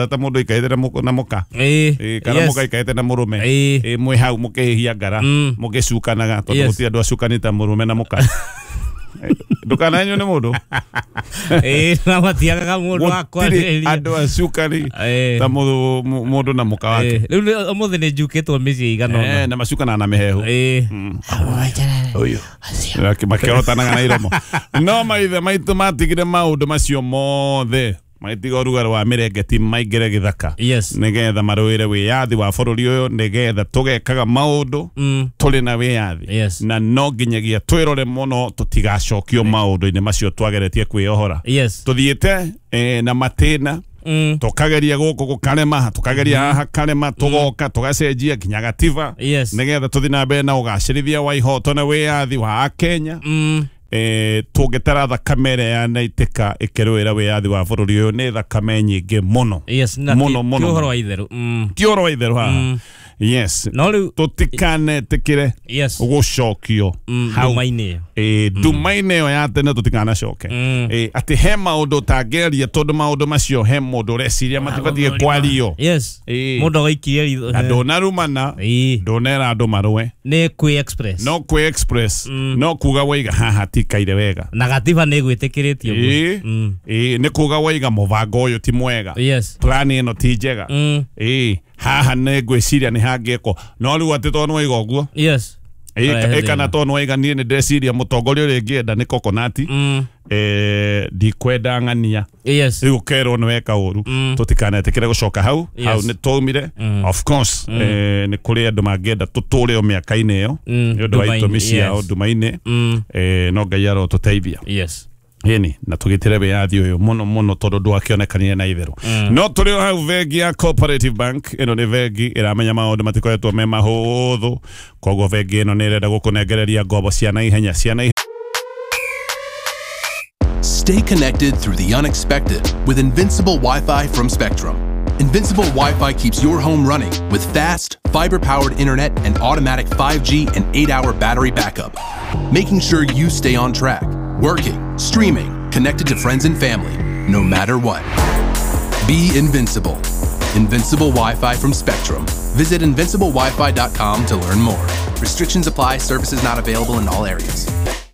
Ta mũndũ aikarĩte na mũka. Kana mũka aikarĩte na mũrũme. Mwĩ hau mũkĩhĩhia ngara, mũgĩcukanaga tondũ gũtirĩ andũ acukani ta mũrũme na mũka. Ndũkananyue nĩ mũndũ. Na matiagaga mũndũ wa Gũtirĩ andũ acukani ta mũndũ na mũka wake. Rĩu ũmũthĩ nĩ njukĩtwo mĩciĩ igana ũna. Na macukanaga na mĩhehu. Ũyũ. Makĩorotanaga na iromo. No maithe maitũ matigire maũndũ macio mothe, magĩtiga ũrugarĩ wa mĩrengeti maingĩre gĩthaka nĩgetha marũĩre wĩyathi wa bũrũri ũyũ, nĩgetha tũgekaga maũndũ tũrĩ na wĩyathi. Na no nginyagia twĩrore mũno tũtigacokio maũndũ-inĩ macio twageretie kwĩyohora. Tũthiĩte na matĩna, tũkageria gũkũ gũkarema, tũkageria haha karema, tũgoka tũgacenjia nginya gatiba, nĩgetha tũthiĩ na mbere na ũgacĩrithia wa ihoto na wĩyathi wa Akenya. Tũngĩtara thakame ĩrĩa yanaitĩka ĩkĩrũĩra wĩyathi wa bũrũri ũyũ nĩ thakame nyingĩ mũno. Mũno mũno. Ti ũhoro wa itherũ. Ti ũhoro wa itherũ haha. Yes. No rĩu tũtikanetĩkĩre gũcokio hau nduma-inĩ. Nduma-inĩ ĩyo ya tene tũtikanacoke. Atĩ he maũndũ ũtangĩaria tondũ maũndũ macio he mũndũ ũreciria matibatiĩ kwario. Mũndũ agaikirie ritho. Na ndũnarumana, ndũnera andũ marũe. Nĩ kwĩ express. No kwĩ express. No kuga waiga haha tikaire wega. Na gatiba nĩ ĩgwĩtĩkĩrĩtio. Nĩ kuga waiga mũbango ũyũ ti mwega. Plan ĩno ti njega. Haha nĩ ngwĩciria nĩ hangĩkwo. No rĩu atĩ tondũ nĩwaiga ũguo. Kana tondũ nĩwaiga niĩ nĩ ndeciria mũtongoria ũrĩa ingĩenda nĩ coconut. Ndikwenda ng'ania. Rĩu ũkerwo nĩ weka ũru. Tũtikanetĩkĩre gũcoka hau. Hau nĩ twaumire. Of course, nĩ kũrĩ andũ mangĩenda tũtũre o mĩaka-inĩ ĩyo nĩ ũndũ wa itũmi ciao nduma-inĩ. No Ngai arotũteithia. Ĩni na tũgitĩre wĩyathi ũyũ mũno mũno tondũ ndwakĩonekanire na itherũ. No tũrĩ o hau bengi ya Cooperative Bank ĩno nĩ bengi ĩramenya maũndũ matikoretwo me mahũthũ, koguo bengi ĩno nĩ ĩrenda gũkũnengereria ngombo cia naihenya cia naihenya. Stay connected through the unexpected with Invincible Wi-Fi from Spectrum. Invincible Wi-Fi keeps your home running with fast, fiber-powered internet and automatic 5G and 8-hour battery backup, making sure you stay on track, working, streaming, connected to friends and family, no matter what. Be invincible. Invincible Wi-Fi from Spectrum. Visit invinciblewifi.com to learn more. Restrictions apply. Services not available in all areas.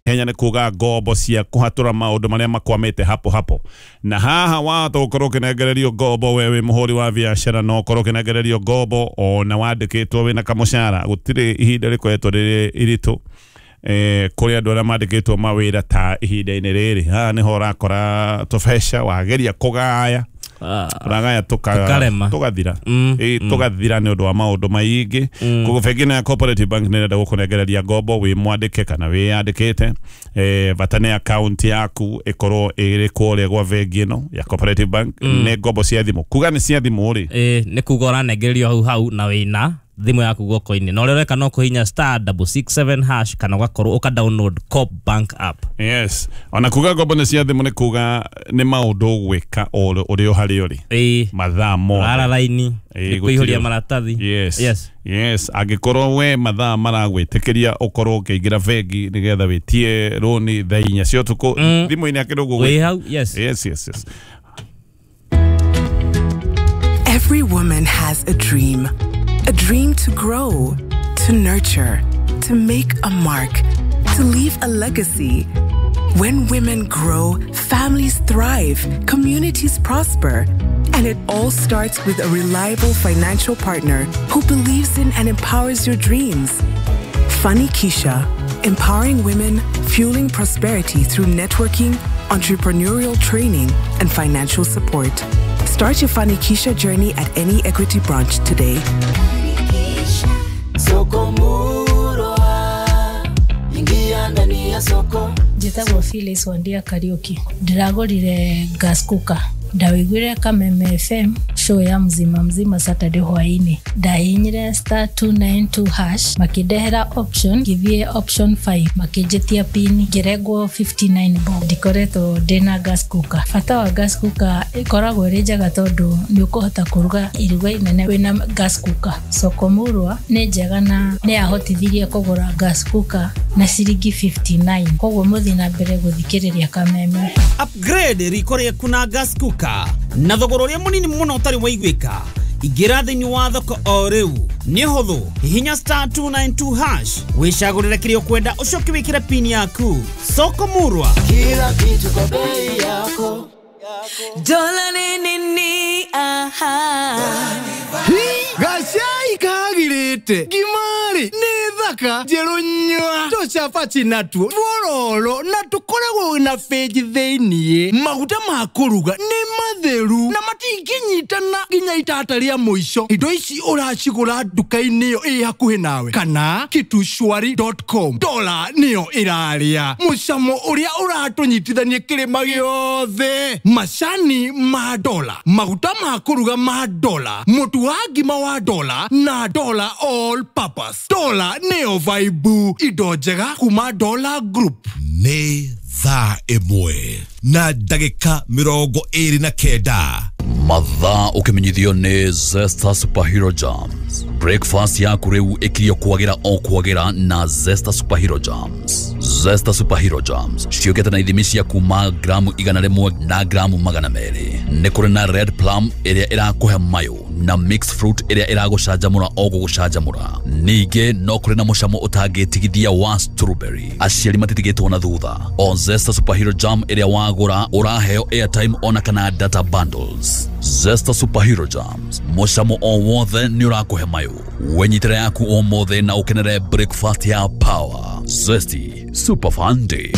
Kenya nĩ kuga ngombo cia kũhatũra maũndũ marĩa makwamĩte hapo hapo. Na haha wahota gũkorwo ũkĩnengererio ngombo we wĩ mũhũri wa biacara, no ũkorwo ũkĩnengererio ngombo ona wandĩkĩtwo wĩna kamũcara. Gũtirĩ ihinda rĩkoretwo rĩrĩ iritũ kũrĩ andũ arĩa mandĩkĩtwo mawĩra ta ihinda-inĩ rĩrĩ. Haha nĩho ũrakora tũbeca wageria kũgaya, ũragaya tũgathira. Tũgathira nĩ ũndũ wa maũndũ maingĩ. Koguo bengi ĩno ya Cooperative Bank nĩ ĩrenda gũkũnengereria ngombo wĩ mwandĩke kana wĩyandĩkĩte. Bata nĩ account yaku ĩkorwo ĩrĩ kũrĩa gwa bengi ĩno ya Cooperative Bank. Nĩ ngombo cia thimũ. Kuga nĩ cia thimũ rĩ, Nĩ kuga ũranengererio hau hau na wĩna thimũ yaku guoko-inĩ. Na ũrĩa ũreka no kũhihinya *667# kana ũgakorwo ũka download Coop Bank app. Yes. Ona kuga ngombo nĩ cia thimũ nĩ kuga nĩ maũndũ ũgwĩka ũrĩ o harĩa ũrĩ. Mathaa mothe. Ara raini, nĩ kũihũria maratathi. Yes. Angĩkorwo we mathaa maragwĩtĩkĩria ũkorwo ũkĩingĩra bengi nĩgetha wĩtie rũni thaa inya cia ũtukũ, thimũ-inĩ akĩrĩ ũguo. Wĩ hau, yes. Yes. Every woman has a dream. A dream to grow, to nurture, to make a mark, to leave a legacy. When women grow, families thrive, communities prosper. And it all starts with a reliable financial partner who believes in and empowers your dreams. Fanikisha, empowering women, fueling prosperity through networking, entrepreneurial training, and financial support. Start your Fanikisha journey at any Equity branch today. Soko Murwa, ingia ndani ya soko. Njĩtagwo Phyllis Wandia Kariuki. Ndĩragũrire gas cooker. Ndawĩiguire Kameme FM show ya mzima mzima Saturday hwainĩ. Ndahihinyire *292# makĩndehera option, ngĩthiĩ option 5 makĩnjĩtia pin, ngĩrengwo 59 bob. Ndikoretwo ndĩna gas cooker. Bata wa gas cooker ĩkoragwo ĩrĩ njega tondũ nĩ ũkũhota kũruga iruga inene wĩna gas cooker. Soko Murwa nĩ njega na nĩ yahotithirie kũgũra gas cooker na ciringi 59. Koguo mũthiĩ na mbere gũthikĩrĩria Kameme. Upgrade riko rĩaku na gas cooker na thogora ũrĩa mũnini mũno ũtarĩ Mwario waiguĩka. Ingĩra thĩinĩ wa thoko o rĩu. Nĩ ũhũthũ, hihinya star 292 hash, wĩcagũrĩre kĩrĩa ũkwenda, ũcoke wĩkĩre pin yaku. Soko Murwa, kila kitu kwa bei yako. Dola ni nini? Aha. Gacai kagirite ngimari nĩ thaka njerũ nyua tũcabaci natuo twororo na tũkoragwo na benji thĩiniĩ. Maguta ma kũruga nĩ matheru na matingĩnyitana nginya itata rĩa mũico. Indo ici ũracigũra nduka-inĩ ĩyo ĩ hakuhĩ nawe kana kitushwari.com. Dola nĩyo ĩrarĩa mũcamo ũrĩa ũratũnyitithania kĩrĩma gĩothe. Macani ma dola, maguta ma kũruga ma dola, mũtu wa ngima wa dola na dola all purpose. Dola nĩyo vibe, indo njega kuma Dola Group. Nĩ thaa 1 na ndagĩka 29. Mathaa ũkĩmenyithio nĩ Zesta Superhero Jams. Breakfast yaku rĩu ĩkirio kwagĩra o kwagĩra na Zesta Superhero Jams. Zesta Superhero Jams ciũkĩte na ithimi cia kuma gramu 100 na gramu 200. Nĩ kũrĩ na red plum ĩrĩa ĩrakũhe mayũ na mixed fruit ĩrĩa ĩragũcanjamũra o gũgũcanjamũra. Ningĩ no kũrĩ na mũcamo ũtangĩtigithia wa strawberry. Aciari matitigĩtwo na thutha. O Zesta Superhero Jam ĩrĩa wagũra ũraheo airtime ona kana data bundles. Zesta Superhero Jams, mũcamo o wothe nĩ ũrakũhe mayũ. Wenyitĩre yaku ũmũthĩ na ũkenere breakfast ya power. Zesty Super Fun Day.